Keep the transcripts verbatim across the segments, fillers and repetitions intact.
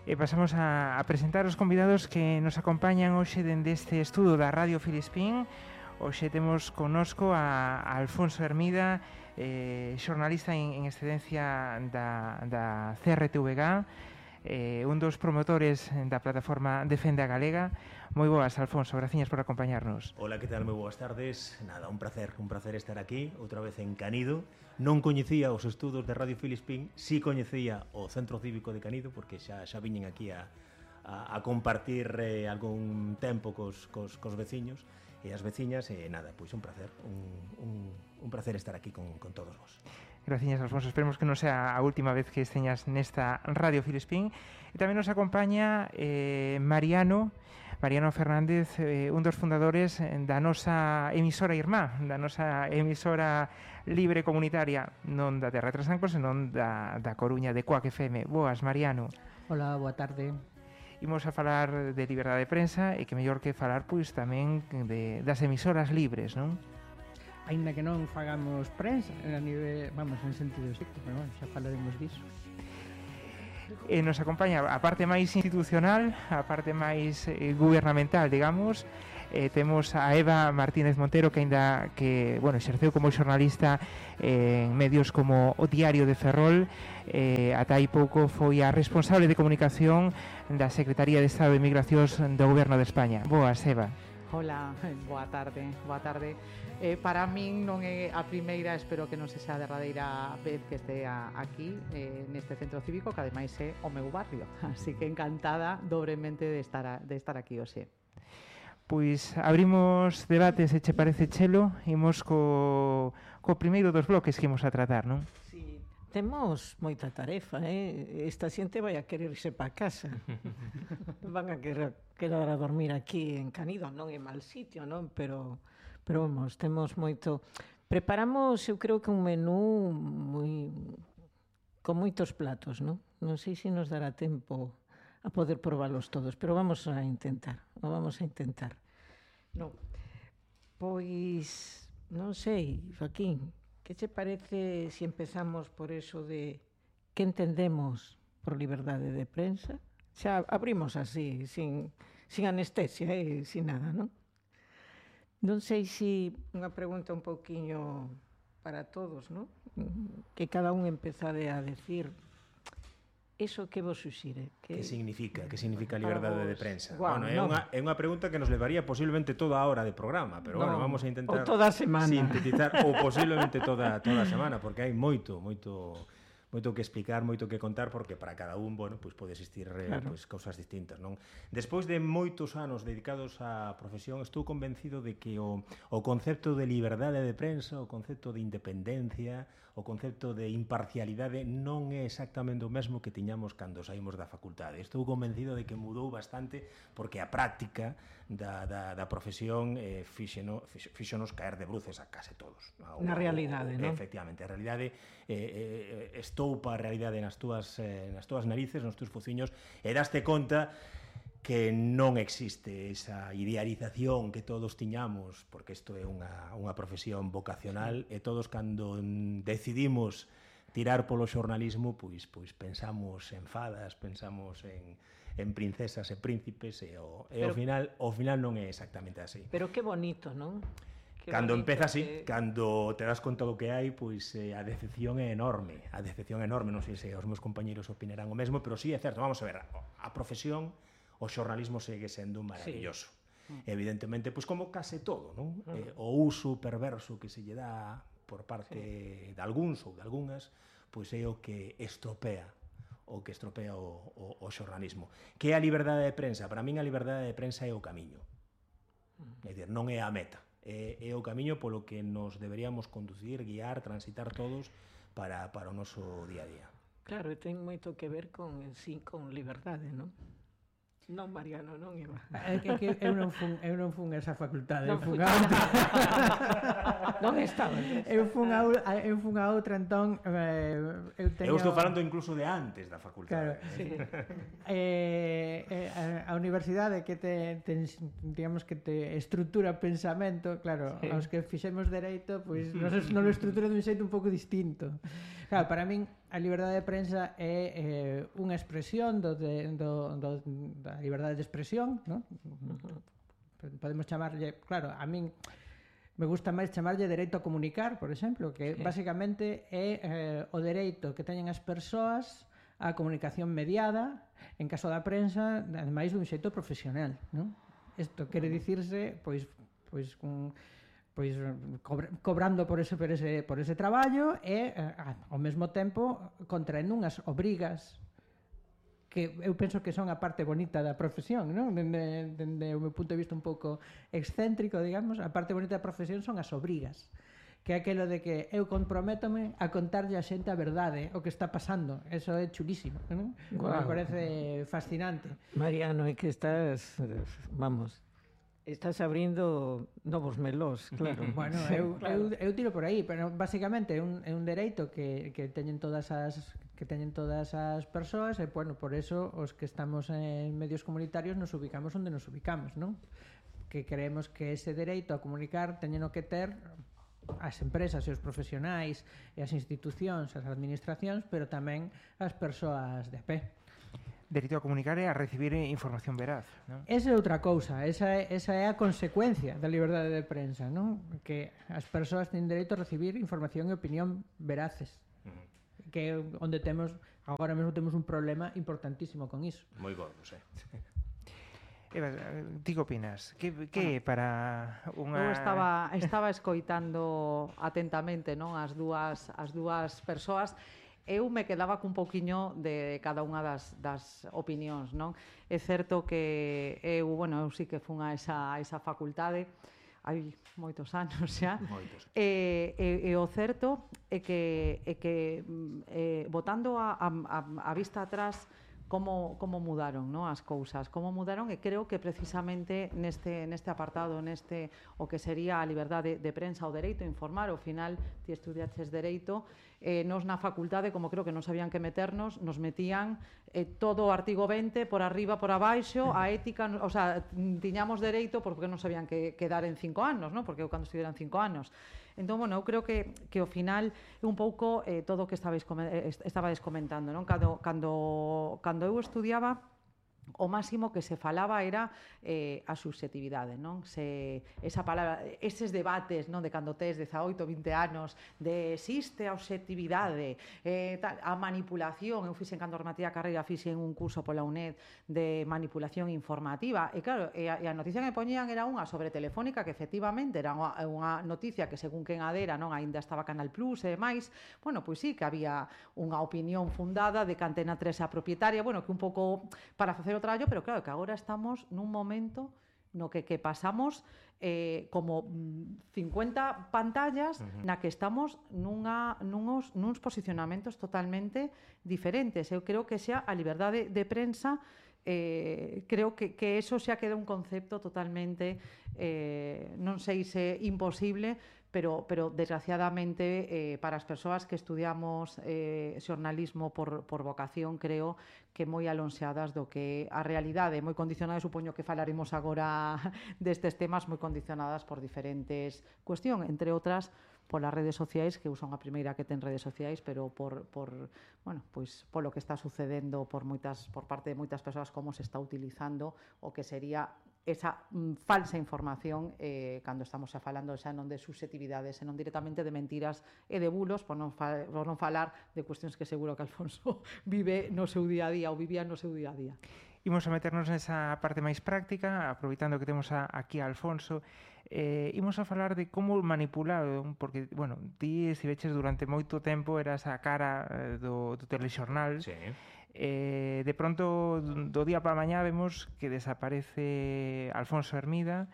E pasamos a, a presentar os convidados que nos acompañan hoxe dende este estudo da Radio Filispín. Hoxe temos connosco a, a Alfonso Hermida, eh, xornalista en, en excedencia da, da C R T V G, eh, un dos promotores da plataforma Defende a Galega. Moi boas, Alfonso, graciñas por acompañarnos. Hola, que tal? Moi boas tardes. Nada, un placer, un placer estar aquí, outra vez en Canido. Non coñecía os estudos de Radio Filispín, si coñecía o Centro Cívico de Canido, porque xa, xa viñen aquí a, a, a compartir eh, algún tempo cos, cos, cos veciños e as veciñas, e nada, pois un placer, un, un, un placer estar aquí con, con todos vos. Graciñas, Alfonso, esperemos que non sea a última vez que esteñas nesta Radio Filispín. E tamén nos acompaña eh, Mariano, Mariano Fernández, eh, un dos fundadores da nosa emisora irmá, da nosa emisora libre comunitaria, non da Terra de Trasancos, senón da, da Coruña, de Coac F M. Boas, Mariano. Hola, boa tarde. Imos a falar de liberdade de prensa e que mellor que falar pois tamén de, das emisoras libres, non? Ainda que non fagamos prensa a nivel, vamos, en sentido estricto, pero bueno, xa falaremos disso. E nos acompaña a parte máis institucional, a parte máis eh, gubernamental, digamos. Eh, temos a Eva Martínez Montero, que aínda que, bueno, exerceu como xornalista eh, en medios como o Diario de Ferrol, eh, ata hai pouco foi a responsable de comunicación da Secretaría de Estado de Migracións do Goberno de España. Boas, Eva. Hola, boa tarde, boa tarde. Eh, para min non é a primeira, espero que non se xa a derradeira vez que estea aquí eh, neste centro cívico, que ademais é o meu barrio, así que encantada dobremente de estar, a, de estar aquí hoxe. Pois abrimos debate, se che parece, Chelo, imos co, co primeiro dos bloques que imos a tratar, non? Sí, temos moita tarefa, eh? Esta xente vai a querer irse para casa. Van a querer quedar a dormir aquí en Canido, non é mal sitio, non? Pero, pero vamos, temos moito... Preparamos, eu creo que un menú moi con moitos platos, non? Non sei se nos dará tempo a poder probalos todos, pero vamos a intentar, o vamos a intentar. Non, pois, non sei, Joaquín, que che parece se empezamos por eso de que entendemos por liberdade de prensa? Xa abrimos así, sin, sin anestesia e eh, sin nada, non? Non sei se unha pregunta un pouquiño para todos, non? Que cada un empezade a decir eso que vos suxire. Que, que significa? Que significa a liberdade de prensa? Guau, bueno, é unha, é unha pregunta que nos levaría posiblemente toda a hora de programa, pero no, bueno, vamos a intentar ou toda a semana. Sintetizar, ou posiblemente toda, toda a semana, porque hai moito, moito... moito que explicar, moito que contar, porque para cada un, bueno, pois pode existir eh, claro. pois, cousas distintas, non? Despois de moitos anos dedicados á profesión, estou convencido de que o, o concepto de liberdade de prensa, o concepto de independencia, o concepto de imparcialidade non é exactamente o mesmo que tiñamos cando saímos da facultade. Estou convencido de que mudou bastante, porque a práctica da, da, da profesión eh, fíxeno, fíxonos caer de bruces a case todos. Na realidade, non? Efectivamente, a realidade eh, eh, estoupa a realidade nas túas, eh, nas túas narices, nos tús fociños, e daste conta que non existe esa idealización que todos tiñamos, porque isto é unha, unha profesión vocacional, e todos cando decidimos tirar polo xornalismo, pois, pois pensamos en fadas, pensamos en, en princesas e príncipes, e, o, e ao final, ao final non é exactamente así. Pero que bonito, non? Que cando empeza así, que... cando te das conta do que hai, pois eh, a decepción é enorme, a decepción é enorme, non sei se os meus compañeros opinarán o mesmo, pero sí é certo, vamos a ver, a profesión, o xornalismo segue sendo maravilloso. Sí. Evidentemente, pois como case todo, non? Uh-huh. Eh, o uso perverso que se lle dá por parte sí. de algúns ou de algunhas, pois é o que estropea o que estropea o, o, o xornalismo. Que é a liberdade de prensa? Para min a liberdade de prensa é o camiño. Uh-huh. É dicir, non é a meta. É, é o camiño polo que nos deberíamos conducir, guiar, transitar todos para, para o noso día a día. Claro, e ten moito que ver con, sí, con liberdade, non? Non, Mariano, non Eva. É que, que eu non fun, eu non fun esa facultade, non eu fun a outra. Non estaba. Eu fun a eu fun a outra, entón eh, eu teño... Eu estou falando incluso de antes da facultade. Claro, sí. eh, eh, a, a universidade que te, te digamos que te estrutura pensamento, claro, sí. Aos que fixemos dereito, pois nos non lo estrutura dun xeito un pouco distinto. Claro, para min a liberdade de prensa é eh, unha expresión do, de, do, do, da liberdade de expresión, non? Podemos chamarlle, claro, a min me gusta máis chamarlle dereito a comunicar, por exemplo, que sí. Basicamente é eh, o dereito que teñen as persoas a comunicación mediada, en caso da prensa, ademais dun xeito profesional, non? Isto quere dicirse, pois, pois un pois cobrando por ese, por ese, por ese traballo e ao mesmo tempo contraendo unhas obrigas que eu penso que son a parte bonita da profesión, non? Dende, dende o meu punto de vista un pouco excéntrico, digamos, a parte bonita da profesión son as obrigas, que é aquilo de que eu comprométome a contarlle a xente a verdade, o que está pasando. Eso é chulísimo, non? Wow. Me parece fascinante. Mariano, é que estás, vamos, estás abrindo novos melós, claro. Bueno, eu, claro. eu, eu tiro por aí, pero basicamente é un, é un dereito que, que teñen todas as que teñen todas as persoas e, bueno, por eso os que estamos en medios comunitarios nos ubicamos onde nos ubicamos, non? Que creemos que ese dereito a comunicar teñeno que ter as empresas e os profesionais e as institucións, as administracións, pero tamén as persoas de a pé. Dereito a comunicar e a recibir información veraz, non? Esa é outra cousa, esa é, esa é a consecuencia da liberdade de prensa, non? Que as persoas teñen dereito a recibir información e opinión veraces. Uh-huh. Que é onde temos, agora mesmo temos un problema importantísimo con iso. Moi gordo, sí. Eva, ti que opinas? Que, que bueno, para unha... Eu estaba, estaba escoitando atentamente, non, as dúas, as dúas persoas. Eu me quedaba cun pouquiño de cada unha das, das opinións, non? É certo que eu, bueno, eu sí que fun a esa, a esa facultade hai moitos anos xa. Moitos. E, e, e o certo é que, é que eh, botando a, a, a vista atrás como, como mudaron, no, as cousas, como mudaron, e creo que precisamente neste, neste apartado, neste o que sería a liberdade de, de prensa, o dereito a informar, ao final ti estudiaches dereito, eh, nos na facultade, como creo que non sabían que meternos, nos metían eh, todo o artigo vinte por arriba, por abaixo, a ética, o sea, tiñamos dereito porque non sabían que, que dar en cinco anos, no? Porque eu cando estudiaran cinco anos. Entón, bueno, eu creo que, que ao final é un pouco eh, todo o que estabais, estabais comentando, non? Cando, cando, cando eu estudiaba, o máximo que se falaba era eh, a subxetividade, non? Se, esa palabra, eses debates, non, de cando tes dezaoito, vinte anos, de existe a obxectividade, eh, tal, a manipulación. Eu fixen, cando rematé a carreira, fixen un curso pola UNED de manipulación informativa, e claro, e a, e a noticia que me poñían era unha sobre Telefónica, que efectivamente era unha, unha noticia que según quen adera, non, aínda estaba Canal Plus e demais. Bueno, pois sí, que había unha opinión fundada de que Antena tres é a propietaria, bueno, que un pouco para facer o traballo, pero claro, que agora estamos nun momento no que, que pasamos eh, como cincuenta pantallas, uh-huh, na que estamos nunha, nunos, nuns posicionamentos totalmente diferentes. Eu creo que xa a liberdade de prensa, eh, creo que, que eso xa queda un concepto totalmente, eh, non sei se imposible, pero, pero desgraciadamente eh, para as persoas que estudiamos eh, xornalismo por, por vocación, creo que moi alonxadas do que a realidade, moi condicionadas, supoño que falaremos agora destes temas, moi condicionadas por diferentes cuestión, entre outras polas redes sociais, que eu son a primeira que ten redes sociais, pero por, por bueno, pois polo que está sucedendo por moitas por parte de moitas persoas, como se está utilizando o que sería esa mm, falsa información, eh, cando estamos xa falando xa non de susceptibilidades, senón directamente de mentiras e de bulos, por non, fa, por non falar de cuestións que seguro que Alfonso vive no seu día a día ou vivía no seu día a día. Imos a meternos nesa parte máis práctica, aproveitando que temos a, aquí a Alfonso. Eh, imos a falar de como manipular, porque, bueno, ti estiveches durante moito tempo, eras a cara eh, do, do telexornal. Sí. Eh, de pronto, do día para mañá, vemos que desaparece Alfonso Hermida,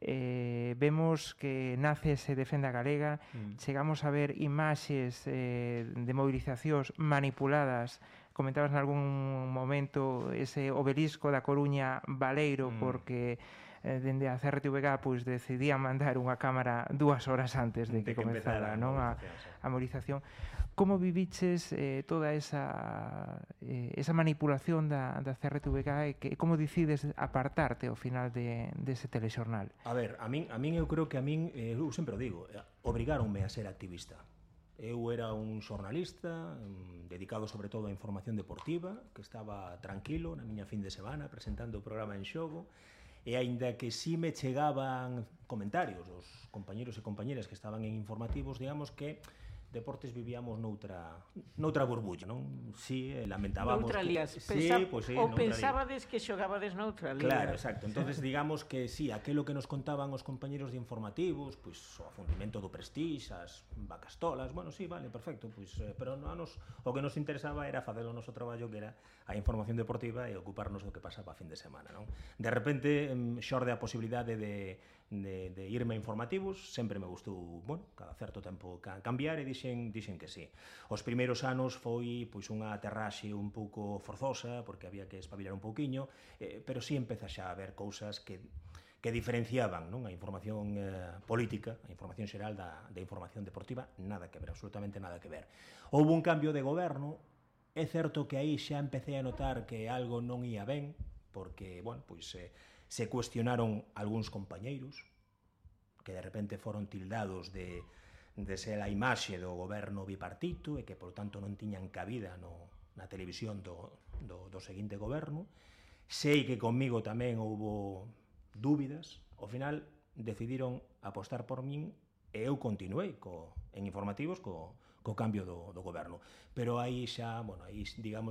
eh, vemos que nace ese Defenda Galega, mm. chegamos a ver imaxes eh, de movilizacións manipuladas. Comentabas en algún momento ese obelisco da Coruña Baleiro, mm. porque eh, dende a C R T V G pois decidían mandar unha cámara dúas horas antes de, de que, que comezara, non, a, a movilización. Como viviches eh, toda esa eh, esa manipulación da, da C R T V G e que, como decides apartarte ao final de, dese telexornal? A ver, a min, a min eu creo que a min, eh, eu sempre o digo, obrigáronme a ser activista. Eu era un xornalista um, dedicado sobre todo á información deportiva, que estaba tranquilo na miña fin de semana presentando o programa En Xogo, e aínda que si me chegaban comentarios dos compañeros e compañeras que estaban en informativos, digamos que deportes vivíamos noutra noutra burbulla, non? Si, eh, lamentábamos noutra que... lías. Sí, Pensa... pues sí, ou noutra pensabades que xogabades noutra liga. Claro, exacto. Entonces digamos que si, sí, aquelo que nos contaban os compañeros de informativos, pois pues, o afundimento do Prestige, as vacastolas, bueno, sí, vale, perfecto, pois pues, eh, pero a nos o que nos interesaba era facer o noso traballo, que era a información deportiva e ocuparnos do que pasaba a fin de semana, non? De repente xorde a posibilidade de De, de irme a informativos, sempre me gustou, bueno, cada certo tempo cambiar e dixen, dixen que sí. Os primeiros anos foi pois unha aterraxe un pouco forzosa, porque había que espabilar un pouquiño, eh, pero sí empeza xa a haber cousas que que diferenciaban, non, a información eh, política, a información xeral da, da información deportiva, nada que ver, absolutamente nada que ver. Houve un cambio de goberno, é certo que aí xa empecé a notar que algo non ia ben, porque, bueno, pois... Eh, se cuestionaron algúns compañeiros que de repente foron tildados de, de ser a imaxe do goberno bipartito e que, por tanto, non tiñan cabida no, na televisión do, do, do seguinte goberno. Sei que comigo tamén houbo dúbidas. Ao final, decidiron apostar por min e eu continuei co, en informativos co, co cambio do, do goberno. Pero aí xa, bueno, aí, digamos,